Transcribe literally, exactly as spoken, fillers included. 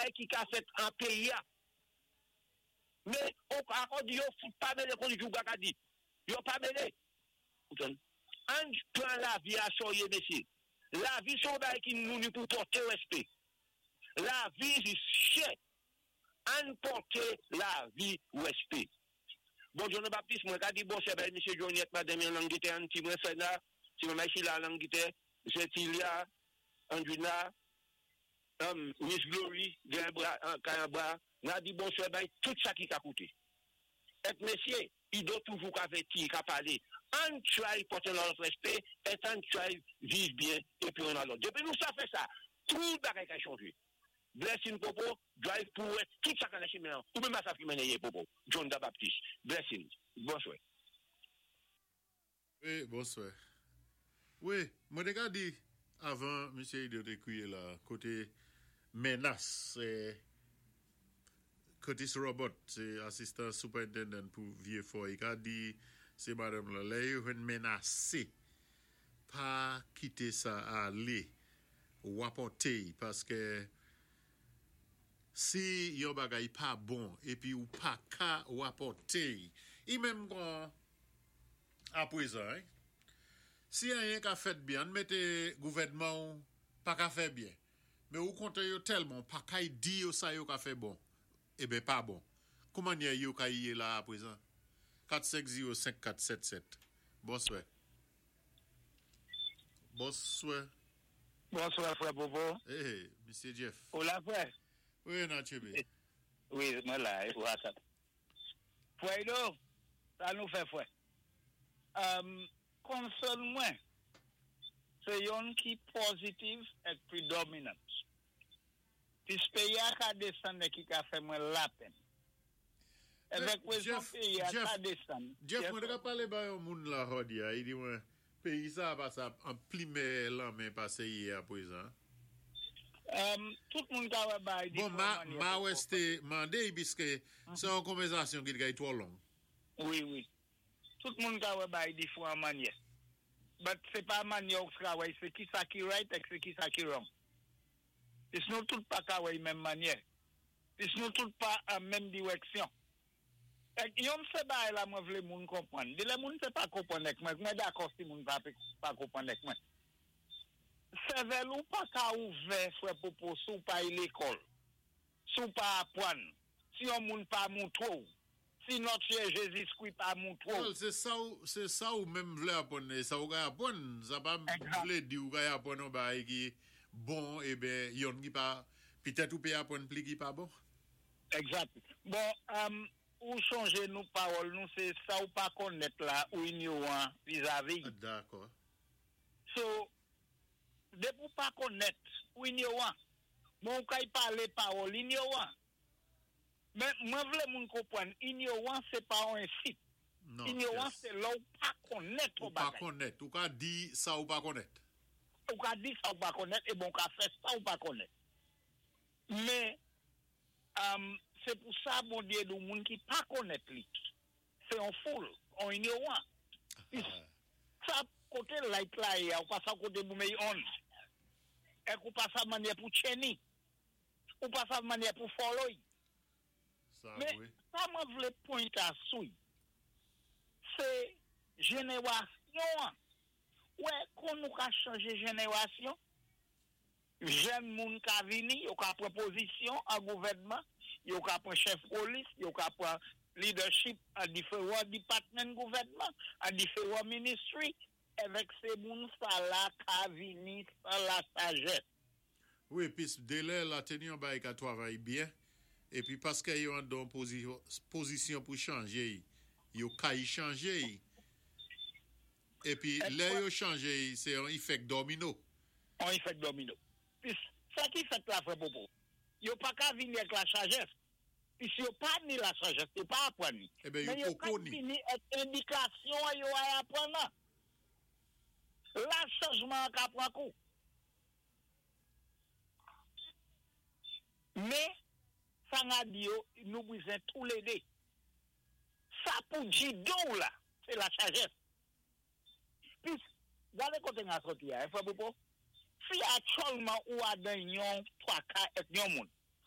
bagay ki ka fèt an péyi-a. Men, ankò di yo pa mélé kon jouga ka di. Yo pa mélé. Ann pran lavi-a séryé, mesyé. Lavi sé yon bagay ki nou ni pou pòté wèspè. Lavi sé chè. Ann pòté lavi wèspè. Bon, John Baptiste, mwen ka di bon, sé bay misyé Johniette, madanm an Langitè, an ti mwen fè la, ti mwen la Langitè, Zetilia, Andrina, um, Miss Glory, gen bra, an bra, nan di bon sè bay tout sa ki ka koute. Èk mesyé, i do toujou ka vèti, ka palé. Ann try pòté lòt wèspè, èt ann try viv byen, épi on a lòt. Dépi nou sa fè sa, tout bagay ka chanjé. Blessing Popo, drive pou wè tout sa ka nan chimen an. Ou menm sa ki mennen yé Popo. John da Baptiste. Blessing. Bonswè. Wi, bonswè. Wi, mwen té ka di avan misyé Ido té kwiyé la, koté menas, sé Curtis Robert, sé assistant superintendent pou Vieux-Fort, i ka di sé madanm la, lè yo vin menasé, pa kité sa alé, wapòté, paské si yon bagay pa bon, épi ou pa ka wapòté, i menm kon apwézan, hein? Si anyen ka fèt byen, mété gouvèdman ou pa ka fè byen. Men ou kontan yo tèlman, pa kay di yo sa yo ka fè bon, eben pa bon. Kouman yo ka yé la apwézan? kat senk zewo senk kat sèt sèt. Bonswè. Bonswè. Bonswè, frè Popo. Eh, Misye Jeff. Ou la, frè? Wi, Nachebe. Wi, mwen la, what's up? Frè Ido, sa nou fè, frè? Um, concern mwen, sé youn ki positive èk predominant. Pis péyi-a ka désann ki ka fè mwen lapenn. Avèk wezon péyi-a ka désann. Jeff, mwen té ka palé ba yon moun la jòdi-a, i di mwen, péyi sa pa sa an pli mèyè lan men pasé yé apwézan. Um, tout moun ka wè bay Bon, ma, ma wè té mandé, piské sé yon konvèsasyon ki té twò long. Wi, wi. Tout moun ka wè bay diféwan mannyè. But sé pa mannyè ou ka wè, sé ki sa ki right èk sé ki sa ki wrong. Pis nou tout pa ka wè menm mannyè. Pis nou tout pa an menm diwèksyon. Èk yon sé bay la mwen vlé moun konpwann. Di lè moun sé pa konpwann èk mwen, mwen dakò si moun pa, pa konpwann èk mwen. Sèvèl ou pa ka ouvè, frè Popo, si ou pa ay lékòl, si ou pa apwann, si yon moun pa moutwé ou, si Nòt Seyè Jézikwi pa moutwé ou. Well, sé sa ou, sé sa ou menm vlé apwann, é sa ou ka apwann, sa pa vlé di ou ka apwann yon bagay ki bon, eben, yon ki pa, pitèt ou pé apwann pli ki pa bon. Egzat. Bon, um, ou chonjé nou pawòl nou, sé sa ou pa konnèt la, ou inyowan vizavi. Dakò. So, dépi ou pa konnèt, ou inyowan. Bon, ou kay palé pawòl inyowan. Men, mwen vlé moun konpwann, inyowan, sé pa yon ensit. Non. Inyowan, yes. sé lè ou pa konnèt Ou ou pa bagay. konnèt, ou ka di sa ou pa konnèt. Ou ka di sa ou pa konnèt, é bon, ou ka fè sa ou pa konnèt. Men, um, sé pou sa Bondyé di moun ki pa konnèt li. Sé yon fool, yon inyowan. Pis, sa koté light la yé, ou pa sav koté pou méy on. Èk ou pa sav mannyè pou tchenni. Ou pa sav mannyè pou follow. Sa, Men, wi. sa mwen vlé point a sou. Sé jénéwasyon. Wè, kon nou ka chanjé jénéwasyon, jèn moun ka vini, yo ka pran pozisyon an gouvèdman, yo ka pran chèf polis, yo ka pran leadership an diferan department gouvèdman, an diferan ministry, avèk sé moun sa la ka vini san la sajès. Wi, pis délè la teni yon bagay ka twavay byen, épi paské yo an don pozisyon, pozisyon pou chanjé, yo kay chanjé. Épi lè yo chanjé, sé yon efè domino. Yon efè domino. Pis, sa ki fèt la, frè Popo, yo pa ka vini ak la sajès. Pis yo pa ni la sajès, yo pa apwann ni. Eben, yo Men yo poko ka ni. vini ak endikasyon yo ay apwann nan. La chanjman ka pran kou. Men, sa nga di yo, nou bizwen tou lé dé. Sa pou di do la, sé la sajès. Pis, gadé koté nga soti ya, frè Popo, si aktyèlman ou adan yon twa ka èk yon moun,